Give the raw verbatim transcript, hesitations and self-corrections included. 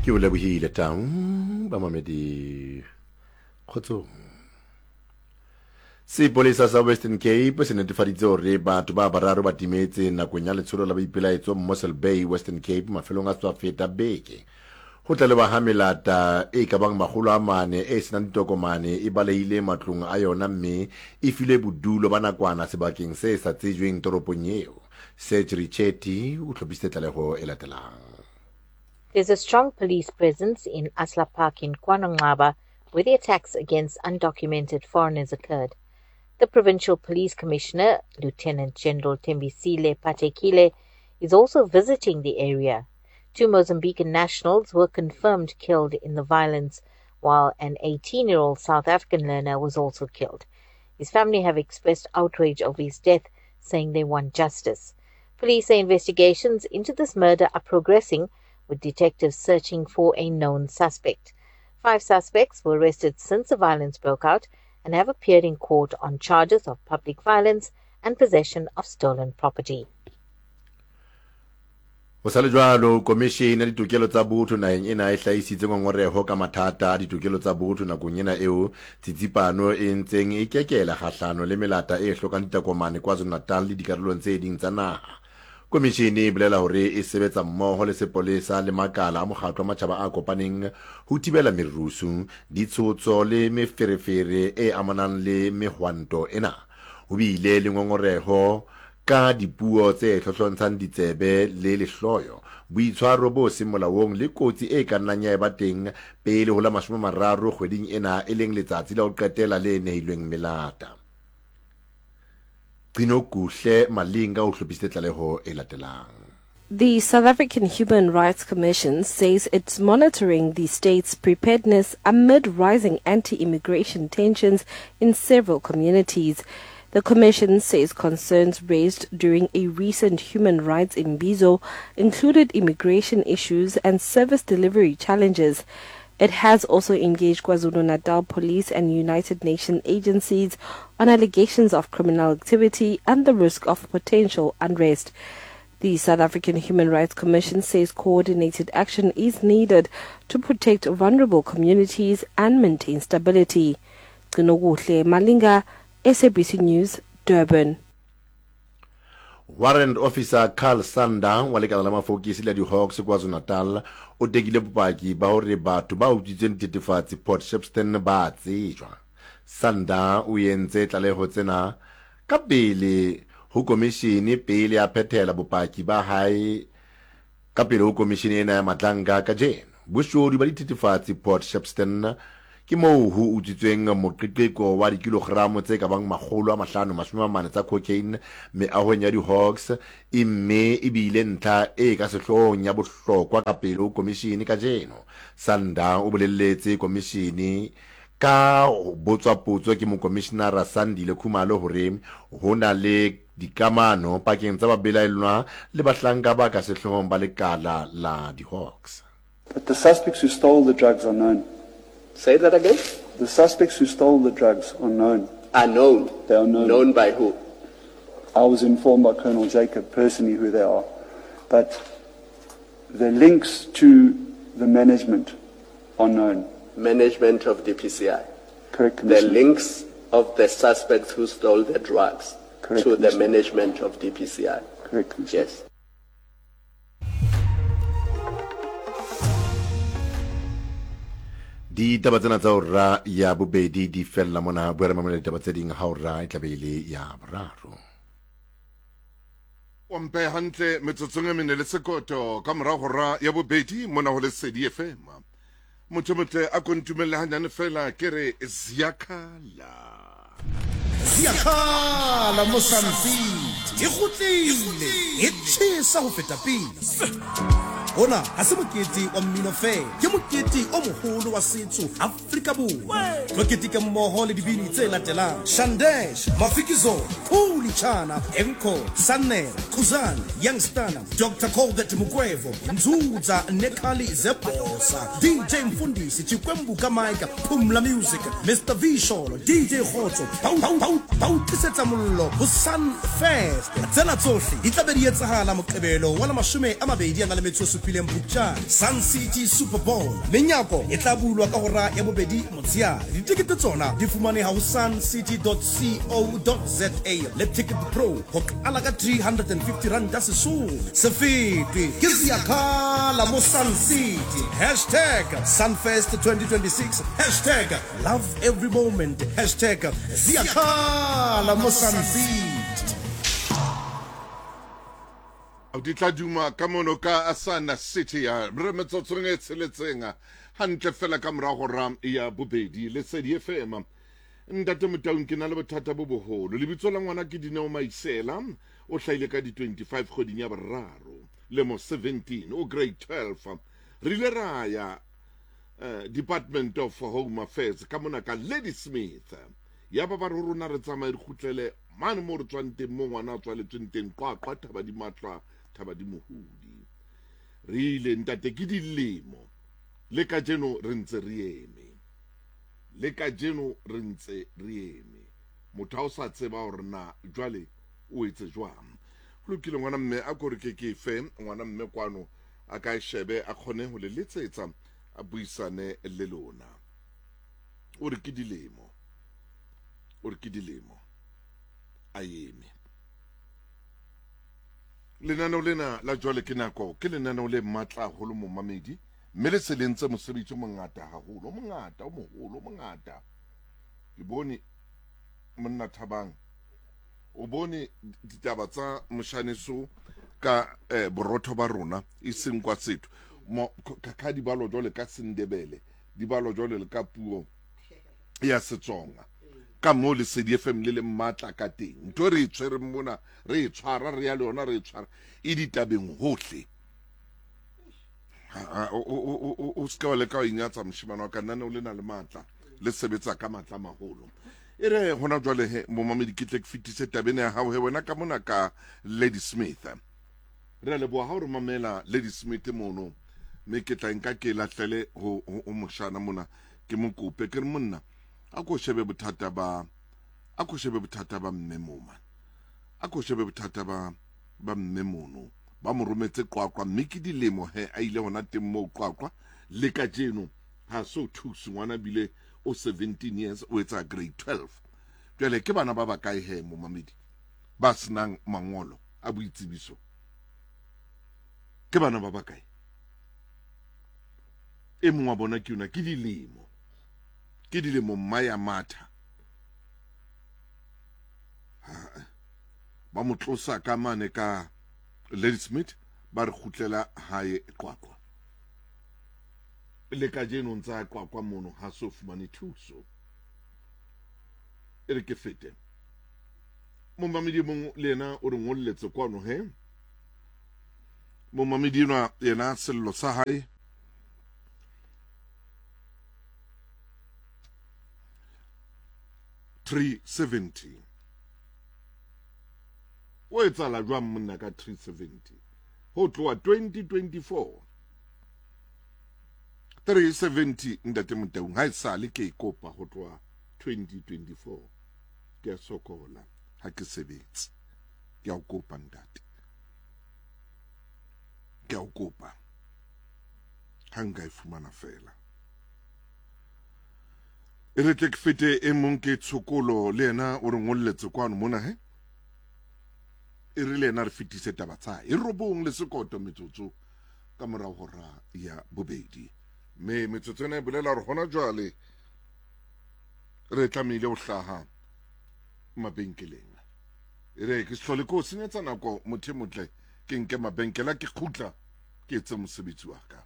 Ke o lebohile tau bamamedi kgotsong. Sepolesa sa Western Cape se netefaditse hore batho ba bararo ba timetse nakong ya letsholo la boipelaetso Mossel Bay, Western Cape mafelong a tswa feta beke. Ho tlalewa ha melata e ka bang makgolo a mane e senang ditokomane e balehile matlong a yona mme e filwe bodulo ba nakwana sebakeng se sa tsejweng toropong eo. Serge Richetti o hlophisitse tlaleho e latelang. There's a strong police presence in Asla Park in KwaNonqaba, where the attacks against undocumented foreigners occurred. The Provincial Police Commissioner, Lieutenant General Thembisile Patekile, is also visiting the area. Two Mozambican nationals were confirmed killed in the violence, while an eighteen-year-old South African learner was also killed. His family have expressed outrage over his death, saying they want justice. Police say investigations into this murder are progressing, with detectives searching for a known suspect. Five suspects were arrested since the violence broke out and have appeared in court on charges of public violence and possession of stolen property. Ho sa le jwalo, Komishene ya Ditokelo tsa Botho naheng ena e hlahisitse ngongoreho ka mathata a ditokelo tsa botho nakong ena eo tsitsipano e ntseng e kekela kgahlano le melata e hlokang ditokomane KwaZulu-Natal le dikarolong tse ding tsa naha. Komishene e bolela hore e sebetsa mmoho le sepolesa le makala a mokgatlo wa matjhaba a kopaneng ho thibela merusu, ditshotso le meferefere e amanang le mehwanto ena. Ho bile le ngongoreho ka dipuo tse hlohlontshang ditsebe le lehloyo, boitshwaro bo seng molaong le kotsi e ka nnang ya eba teng pele ho la mashome a mararo kgweding ena e leng letsatsi la ho qetela le nehilweng melata. Gcinokuhle Malinga o hlophisitse tlaleho e latelang. The South African Human Rights Commission says it's monitoring the state's preparedness amid rising anti-immigration tensions in several communities. The Commission says concerns raised during a recent human rights imbizo included immigration issues and service delivery challenges. It has also engaged KwaZulu-Natal Police and United Nations agencies on allegations of criminal activity and the risk of potential unrest. The South African Human Rights Commission says coordinated action is needed to protect vulnerable communities and maintain stability. Gcinokuhle Malinga, S A B C News, Durban. Warrant Officer Carl Sander wa lekala la mafokisi la di-Hawks KwaZulu-Natal o tekile bopaki ba hore batho ba utswitseng dithethefatsi Port Shepstone ba tsejwa. Sander o entse tlaleho tsena ka pele ho komishene pele a phethela bopaki ba hae ka pele ho komishene ena ya Madlanga kajeno. Boshodu ba dithethefatsi Port Shepstone ke moo ho utswitsweng moqeqeko wa dikilogramo tse ka bang makgolo a mahlano mashome a mane tsa cocaine meahong ya di-Hawks, e mme e bile ntlha e ka sehloohong ya bohlokwa ka pele ho komishene kajeno. Sander o bolelletse komishene ka botswa potso ke mokomishenara Sandile Khumalo hore ho na le dikamano pakeng tsa babelaellwa le bahlanka ba ka sehloohong ba lekala la di-Hawks. But the suspects who stole the drugs are known. Say that again? The suspects who stole the drugs are known. Are known? They are known. Known by who? I was informed by Colonel Jacob personally who they are. But the links to the management are known. Management of D P C I? Correct, The Commissioner. links of the suspects who stole the drugs Correct, to the Commissioner. management of D P C I? Correct, Commissioner. Yes. Ditaba tsena tsa hora ya bobedi di fella mona, bua re mamela ditaba tse ding ha hora e tla be e le ya boraro. O mpe hantle metsotsong e mene le sekoto ka mora hora ya bobedi mona ho Lesedi F M. Motho motle a ko ntumelle hanyane fela ke re ziyakhala. Ziyakhala Mozambique, e kgutlile, e tjhesa ho feta pele. Hona ha se mokete wa mmino fela, ke mokete o moholo wa setso Afrika Borwa. Tlo keteka mmoho le dibini tse latelang: Shandesh, Mafikizolo, Khuli Chana, Enko, Sanel, Khuzani, Youngstana, Doctor Colbert Mukwevho, Nzuza Nekhali Zebosa, D J Mfundisi, Chikwembu Kamaika, Phumla Music, Mister V Sholo, D J Khotso, Pau Pau Pau Ba o tlisetsa mollo ho Sunfest. Tsena tsohle di tla be di etsahala Moqebelo wa la mashome a mabedi a na le metso e supileng Phupjane, Sun City Super Bowl. Menyako e tla bulwa ka hora ya bobedi motsheare. Ditekete tsona di fumaneha ho suncity dot co dot za le Ticket Pro ho qala ka three hundred and fifty rand Sesotho. Se fetwe ke Ziyakhala mo Sun City. Hashtag Sunfest twenty twenty-six. Hashtag love every moment. Hashtag Ziyakhala mo Sun City. Di tla duma ka mono ka Sun City ya re metsotsong e tsheletseng hantle fela ka morago ra ya bobedi Lesedi F M. Ntate Motaung, ke na le bothata bo boholo. Lebitso la ngwana ke Dineo Maisela, o hlahile ka di twenty-five kgweding ya boraro lemo seventeen, o grade twelve. Re ile ra ya uh, Department of Home Affairs ka mona ka Ladysmith. Ya ba ba re rona re tsamaye re kgutlele mane mo re tswang teng, mo ngwana a tswaletsweng teng, Qwaqwa, Thaba di Matlwa, Thaba di Mohudi. Re ile ntate ke dilemo le kajeno re ntse re eme, le kajeno re ntse re eme. Motho ha o sa tseba hore na jwale o etse jwang. Ho lokile ngwana mme, a ko re ke ke fe ngwana mme kwano a ka e shebe, a kgone ho le letsetsa, a buisane le lona. O re ke dilemo, o re ke dilemo a eme. Lenaneo lena la jwale ke nako, ke lenaneo le matla haholo momamedi, mme le se le ntse mosebetsi o mongata haholo, o mongata, o moholo, o mongata. Ke bone monna Thabang, o bone ditaba tsa moshaneso ka eh, borotho ba rona e seng kwa setho. Ka di balo jwale ka Sendebele, di balo jwale le ka puo ya Setsonga. Ka mo Lesedi F M le le matla ka teng. Ntho re e tshwereng mona, re e tshwara, re ya le yona, re e tshwara e ditabeng hohle. O se ke wa leka ho inyatsa moshemane wa ka, nna o le na le matla, le sebetsa ka matla maholo. E re hona jwale he momamedi, ke tle ke fetise taba ena ya hao he wena ka mona ka Ladysmith. Re a leboha ha o re mamela Ladysmith mono, mme ke tla nka ke lahlele ho ho moshana mona, ke mo kope ke re monna a ko shebe bothata ba, a ko shebe bothata ba mme moma, a ko shebe bothata ba ba mme mono. Ba mo rometse Qwaqwa, mme ke dilemo he a ile hona teng moo Qwaqwa, le kajeno ha so thuse ngwana bile o seventeen years, o etsa grade twelve. Jwale ke bana ba bakae he momamedi ba senang mangolo a boitsebiso? Ke bana ba bakae? E mong wa bona ke yona, ke dilemo, ke dilemo mma ya matha. Ba mo tlosa ka mane ka Ladysmith, ba re kgutlela hae Qwaqwa. Le kajeno ntsa Qwaqwa mono ha so fumane thuso. E re ke fete. Momamedi mong le yena o re ngolletse kwano he. Momamedi enwa yena sello sa hae three seventy. O etsahala jwang monna ka three seventy? Ho tloha twenty twenty-four. three seventy ntate Motaung, ha esale ke e kopa ho tloha twenty twenty-four. Ke a sokola, ha ke sebetse. Ke a o kopa ntate. Ke a o kopa. Ha nka e fumana fela. E re tle ke fete e mong ke Tshokolo, le yena o re ngolletse kwano mona he. E re le yena re fetise taba tsa hae. E robong le sekoto metsotso ka morao hora ya bobedi. Mme metsotso ena e bolela hore hona jwale re tlamehile ho hlaha mabenkeleng. E re ke se hlole ke o senyetsa nako motho e motle, ke nke mabenkele ke kgutla ke etse mosebetsi wa ka.